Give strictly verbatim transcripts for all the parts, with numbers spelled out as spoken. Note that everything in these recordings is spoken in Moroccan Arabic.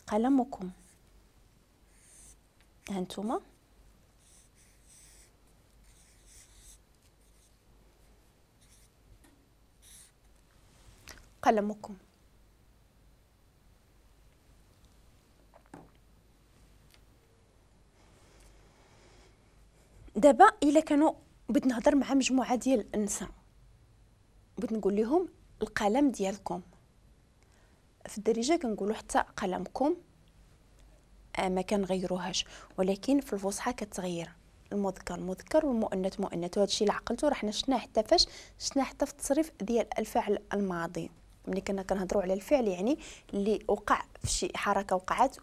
قلمكم. هانتوما قلمكم. دابا الا كانوا بغيت نهضر مع مجموعة ديال النساء، بغيت نقول لهم القلم ديالكم. في الدارجة كنقولوا حتى قلمكم، ما كنغيروهاش، ولكن في الفصحى كتغير، المذكر مذكر والمؤنث مؤنث. وهذا الشيء اللي عقلته راه حنا شفناه حتى فاش شفناه حتى في التصريف ديال الفعل الماضي، ملي كنا كنهضروا على الفعل يعني اللي وقع في شي حركة وقعت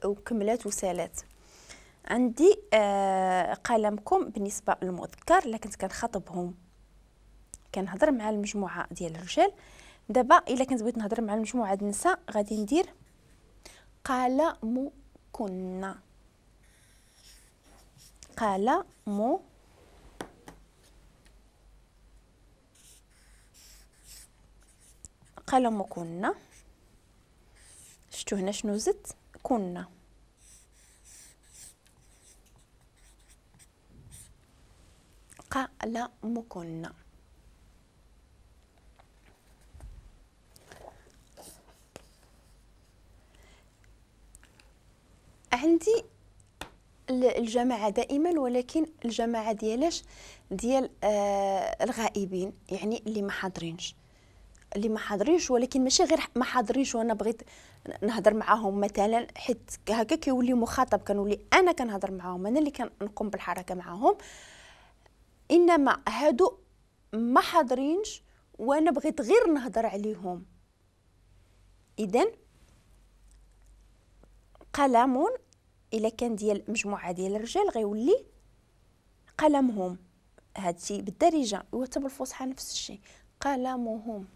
وكملات وسالات. عندي آه قلمكم بالنسبة للمذكر، الا كنت كنخاطبهم كنهضر مع المجموعة ديال الرجال. دابا الا كنت بغيت نهضر مع المجموعة ديال النساء غادي ندير قلمكن، قلم قلمكن. شفتوا هنا شنو زدت؟ كنا. قلمكن. عندي الجماعة دائما، ولكن الجماعة ديالاش؟ ديال آه الغائبين، يعني اللي ما حاضرينش، اللي ما حاضرينش، ولكن ماشي غير ما حاضرينش وانا بغيت نهضر معاهم مثلا، حيت هكا كيولي مخاطب، كنولي انا كنهضر معاهم، انا اللي كنقوم بالحركة معاهم. انما هادو ما حاضرينش وانا بغيت غير نهضر عليهم. اذا قلم الا كان ديال مجموعة ديال الرجال غيولي قلمهم، هادشي بالدارجة وحتى بالفصحى نفس الشيء، قلمهم.